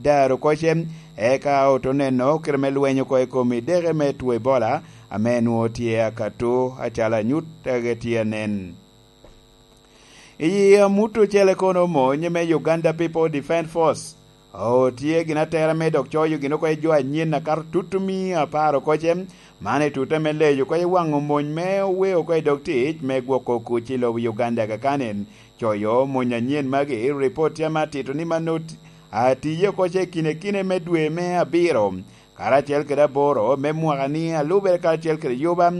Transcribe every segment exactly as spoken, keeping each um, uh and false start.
taro koce, eka oto neno kite me lweny oko i kom ideke me two Ebola, ame nwoŋo tye akato acalo anyut age tye anen. I amut ocele kono, mony me Uganda People Defence Force otye gin atera me dok coyo gin oko i jo anyen akato tutumia apar okoce, man i tute me leyo oko i waŋo mony me owe oko i dog tic me gwoko kuc i lobo Uganda kakanen. Coyo mony anyen magi, ripot tye ame atito ni mano atiye oko i kine kine me dwe me abiro, karacel kede aboro me mwaka ni, alubere karacel kede yuba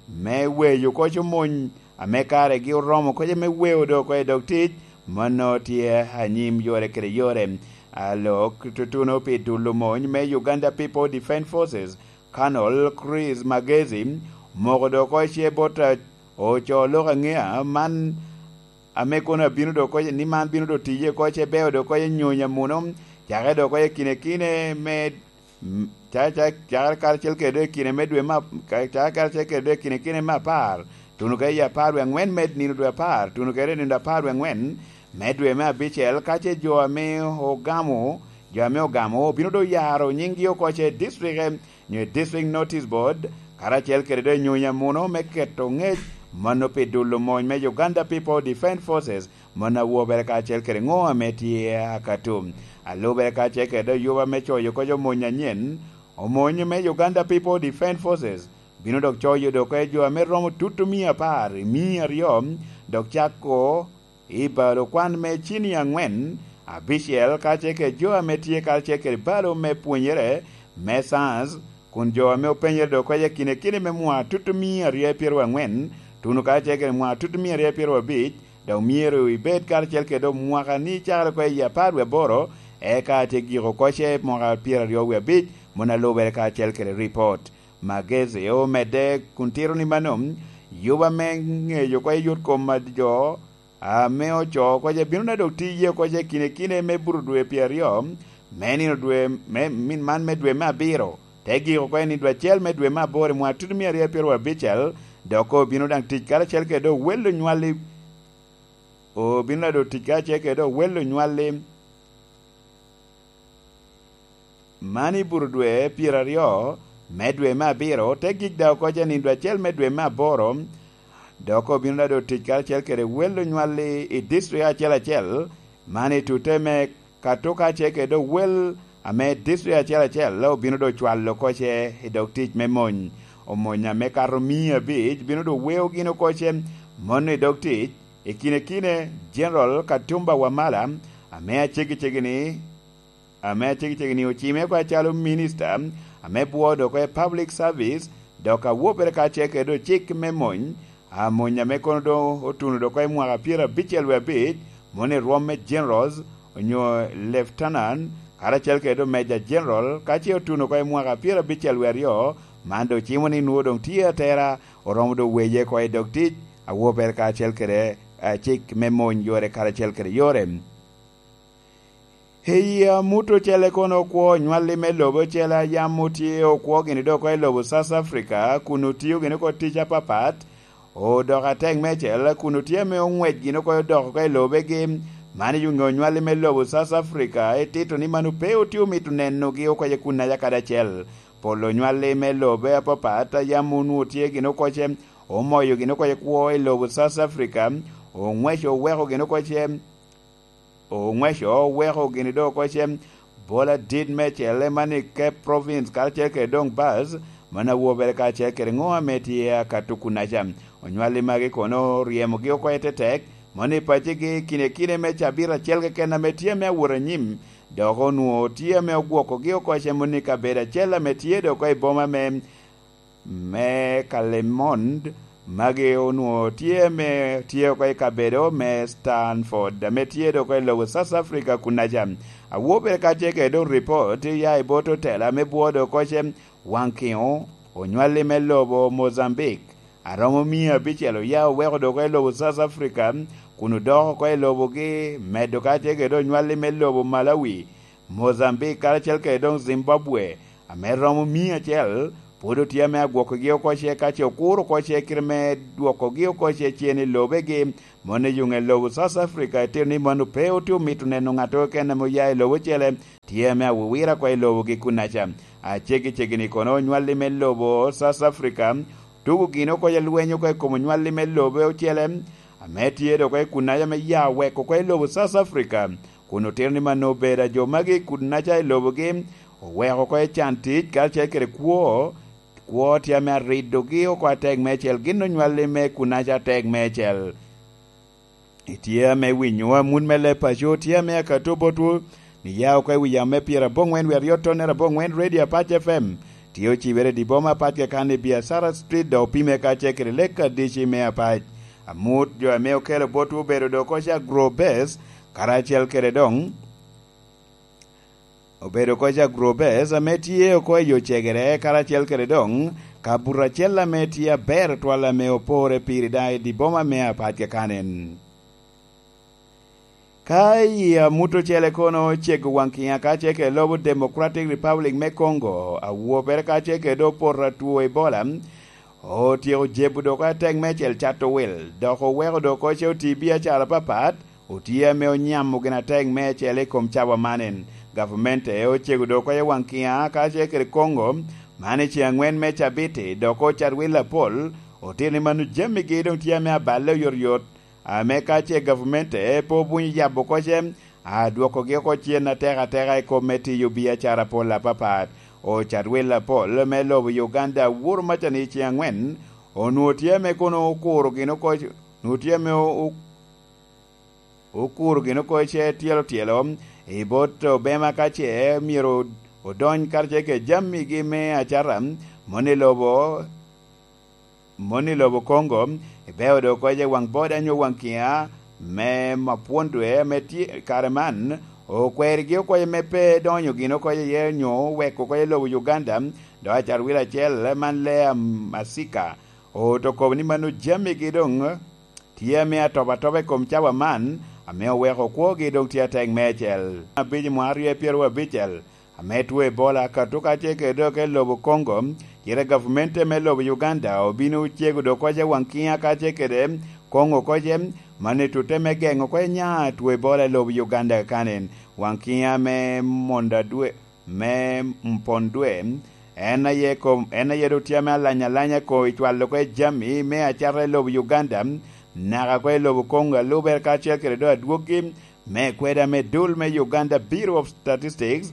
me weyo oko mony ame karegi oromo oko me weo do oko i dog tic, mano tye anyim yore kede yore. Alok tutuno pi dulo mony me Uganda People Defence Forces, Colonel Chris Magezi, omoko do oko ce bot, eh, oco lok aŋea man, ame kono abino do oko ni man bino do tiye oko ce beo do oko nyonyo amuno, cake do oko i kine kine me, mm, ca-, ca-, cakere karacel kede i kine me dwe me ap-, ka-, cakere karacel kede i kine kine me apar, tuno kede i apar wie aŋwen me nino dwe apar, tuno kede i nino apar wie aŋwen me dwe me abicel, ka ce jo ame ogamo, jo ame ogamo obino do yaro nyinggi oko ce i district, nyo i District Notice Board, karacel kede do nyonyo amuno me keto ŋec mano pi dulo mony me Uganda People Defence Forces, mano awobere karacel kede ŋo ame tye akato. Alubere karacel kede do yuba me coyo oko mony anyen, omony me Uganda People Defence Forces bino dok coyo do oko jo ame romo tutumia apar i mia aryo, dok cako i balo kwan me cini aŋwen, abicel, karacel kede jo ame tye karacel kede balo me pwonyere me science, kun jo ame openyere do oko i kine kine me mwaka tutumia aryo pyeraryo aŋwen, tuno karacel kede mwaka tutumia aryo pyeraryo abic, dok myero ibed karacel kede mwaka ni cakere oko i apar wie aboro, eka tye giko oko ce mwaka pyeraryo wie abic, mano alubere karacel kede ripot. Magezi omedde kun tito ni mano, yuba me ŋeyo oko yot kom a jo ame oco oko ce bino na dok tiye oko ce kine kine me buto dwe pyeraryo, me nino dwe, me, min man me dwe me abiro, te giko oko i nino dwe acel me dwe me aboro i mwaka tutumia aryo pyeraryo abicel, dok obino daŋ tic karacel kede owel onywalli, obino na dok tic karacel kede owel onywalli. Man i buto dwe pyeraryo me dwe me abiro, te gik daŋ oko ce nino dwe acel me dwe me aboro, dok obino daŋ doŋ tic karacel kede wel onywalli i district acel acel, man i tute me Katuka ce kede wel ame district acel acel obino doŋ cwalo oko ce i dog tic me mony. Omony ame kato mia abic bino doŋ weo gin oko ce mono i dog tic, i kine kine General Katumba Wamala, ame aceggi ceggi ni, ame aceggi ceggi ni ocime oko acalo minista ame bwoo dok oko i public service, dok awobere karacel kede ocik me mony, amony ame kono doŋ otuno dok oko i mwaka pyerabicel wie abic, mono i rwom me generals onyo lieutenant, karacel kede doŋ major general, ka ce otuno oko i mwaka pyerabicel wie aryo, man doŋ cimo ni nwoŋo doŋ tye atera, oromo doŋ weye oko i dog tic, awobere karacel kede, eh, cik me mony yore karacel kede yore. Eyi amut ocele kono okwo onywalli me lobo ocele a yam otye okwo gini dok oko i lobo South Africa, kun otio gini oko tic apapat, odoko atek meicel, kun otye ame oŋwec gini oko odoko oko i lobegi. Man i onywalli me lobo South Africa, itito ni mano pe otye omito nenogi oko i kunnaca kadi acel. Pol onywalli me lobe apapat a yam onwoŋo tye gini oko ce omoyo gini oko i kwo i lobo South Africa, oŋweco oweko gini oko ce oŋweco oweko gini doŋ oko ce bol adit meicel, man i Cape Province karacel kede doŋ Bas, mano awobere karacel kede ŋo ame tye akato kunnaca. Onywalli magi kono oryemogi oko i tetek, mono i paccigi kine kine me cabit acel keken ame tye ame awot anyim, dok onwoŋo tye ame ogwokogi oko ce mono i kabedo acel ame tye doŋ oko i boma me me Kalemond, magi onwoŋo tye me, tye oko i kabedo me Stanford, ame tye doŋ oko i lobo South Africa kunnaca. Awobere karacel kede doŋ ripot ya i bot otela me bwoo doŋ oko ce Waŋkiŋo, onywalli me lobo Mozambique, aromo mia abicel oya oweko doŋ oko i lobo South Africa, kun odoko oko i lobogi, medo karacel kede onywalli me lobo Malawi, Mozambique karacel kede doŋ Zimbabwe, ame romo mia acel, pwod otye ame agwokogi oko ce ka ce okuro oko ce kite me dwokogi oko ce cen i lobegi. Mono i yuŋ i lobo South Africa, itito ni mano pe otye omito neno ŋat keken ame oya i lobo ocele, tye ame awowira oko i lobogi kunnaca. Aceggi ceggi-ni kono onywalli me lobo South Africa tugo gin oko i lweny oko i kom onywalli me lobe ocele ame tye dok oko i kunnaca me ya weko oko i lobo South Africa, kun otito ni mano obedo a jo magi i kunnaca i lobogi oweko oko i can tic karacel kede kwo. Kwo tye ame aridogi oko atek meicel, gin onywalli me kunnaca atek meicel. Itye ame winyo amut me leb paco tye ame akato botwu, ni ya oko i wi yamo me pyeraboŋwen wi aryo tonnere aboŋwen Radio Apac F M, tye ocibere i dye boma apac keken i Biacara Street, dok opime kacel kede lek adici me Apac. Amut jo ame okelo botwu obedo dok oko ca Grow Best, karacel kede doŋ obedo oko ca Grow Best ame tye oko i yo cegere, karacel kede doŋ kabuto acel ame tye aber twal ame opore piri daŋ i dye boma me Apac keken. Ka i amut ocele kono cego waŋ kiŋa kacel kede lobo Democratic Republic me Congo, awopere kacel kede opoto atwo Ebola, otyeko jebo dok atek meicel cato wil, dok oweko dok oce oti biacara apapat, otye ame onyamo gin atek meicel i kom cawa man en. Gavamente ocego dok oko i waŋ kiŋa kacel kede Congo, man i ceŋ aŋwen me cabiti, dok ocat wil apol, otito ni mano jamigi doŋ tye ame aballe oyotoyot, ame ka ce gavmente pe obunyo yabo oko ce, adwokogi oko cen atek ateka i kop me tiyo biacara pol apapat. Ocat wil apol me lobo Uganda Uhuru Macani ceŋ aŋwen, onwoŋo tye ame kono okuro gin oko, onwoŋo tye ame o-, o-, okuro gin oko ce tyelo tyelo i bot obema ka ce myero odony karacel kede jamigi me acata, moni lobo moni lobo Congo, ibeo dok oko i waŋ boda nyo waŋ kiŋa me mapwon dwe ame tye kare man, okwerigi oko me pe donyo gin oko iye nyo weko oko i lobo Uganda, dok acarwilo acel man Lea Masika, oto kobo ni mano jamigi doŋ tye ame atop atop i kom cawa man, ame oweko kwogi doŋ tye atek meicel. Abic i mwa aryo pyeraryo abicel, ame two Ebola akato kacel kede dok i lobo Congo, cite gavmente me lobo Uganda obino cego dok oko i waŋ kiŋa kacel kede Congo oko ce, man i tutte me geŋo oko nya two Ebola i lobo Uganda kakanen. Waŋ kiŋa me Monda dwe, me Mpon dwe, en aye kom, en aye doŋ tye ame alanya alanya ko i cwalo oko i jami me acata i lobo Uganda, naka oko i lobo Congo alube kacel kede doŋ adwoggi me kweda me dul me Uganda Bureau of Statistics,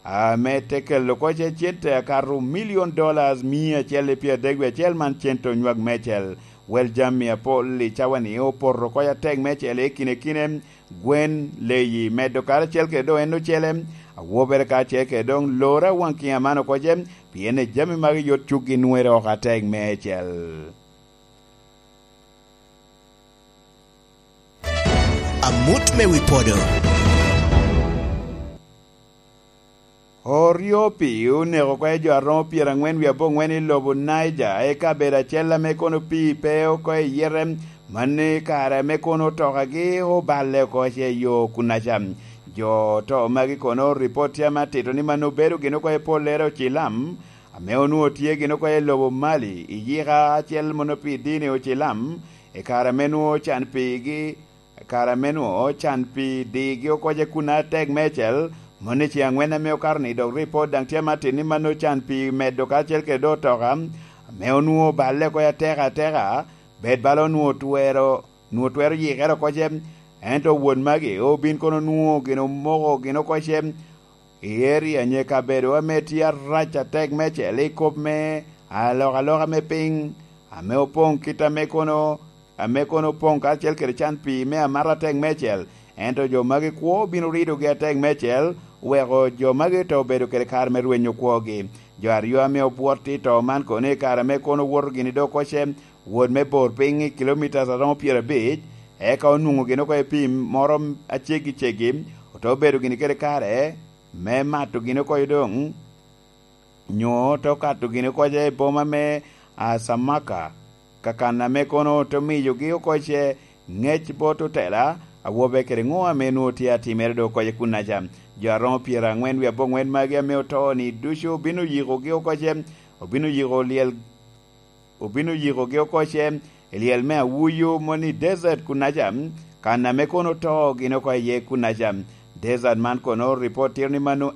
ame te kelo oko ce cente akato million dollars mia acel i pyeradek wie acel man cente onywak meicel. Wel jami apol i cawa-ni opoto oko atek meicel i kine kine, gwen, leyi, medo karacel kede doŋ en ocele, awobere karacel kede doŋ lora waŋ kiŋa man oko ce, pien i jami magi yot cukgi nwere oko atek meicel. Amut me wi podo. Oryo pi oneko oko i jo aromo pyeraŋwen wie aboŋwen i lobo Niger, i kabedo acel ame kono pii pe oko i yete, mano i kare ame kono otokagi oballe oko ce yo kunnaca. Jo oto magi kono ripot tye ame atito ni mano obedo gin oko i pollere ocilam, ame onwoŋo tye gin oko i lobo Mali, i yika acel mono pi dini ocilam, i kare ame nwoŋo ocan pigi, kare ame nwoŋo ocan pi digi oko ce kun atek meicel, moni ce aŋwen ame okato ni dok ripot daŋ tye ame atit ni mano ocan pi medo karacel kede doŋ otoka, ame onwoŋo oballe oko atek ateka, bed bala onwoŋo twero, nwoŋo twero yikere oko ce, ento won magi obin kono onwoŋo gin omoko gin oko ce, i area nye kabedo ame tye arac atek meicel i kop me alokaloka me piny, ame opoŋ kit ame kono, ame kono opoŋ karacel kede can pii me amata atek meicel, ento jo magi kwo bino ridogi atek meicel, weko jo magi te obedo kede kare me rwenyo kwogi. Jo aryo ame obwot i to man kono i kare ame kono owoto gini dok oko ce, wot me bor piny i kilomitas aromo pyerabic, eka onwoŋo gin oko i pii moro aceggi ceggi, ote obedo gini kede kare me mato gin oko doŋ, nyo te okato gin oko ce i boma me Asamaka, kakan ame kono te miyogi oko ce ŋec bot otela, awobe kede ŋo ame nwoŋo tye atimere doŋ oko ce kunnaca. Jo aromo pyeraŋwen wie aboŋwen magi ame oto-ni ducu obino yikogi oko ce, obino yiko lyel obino yikogi oko ce i lyel me Awuyu moni desert kunnaca, kan ame kono oto gin oko iye kunnaca. Desert man kono ripot tito ni mano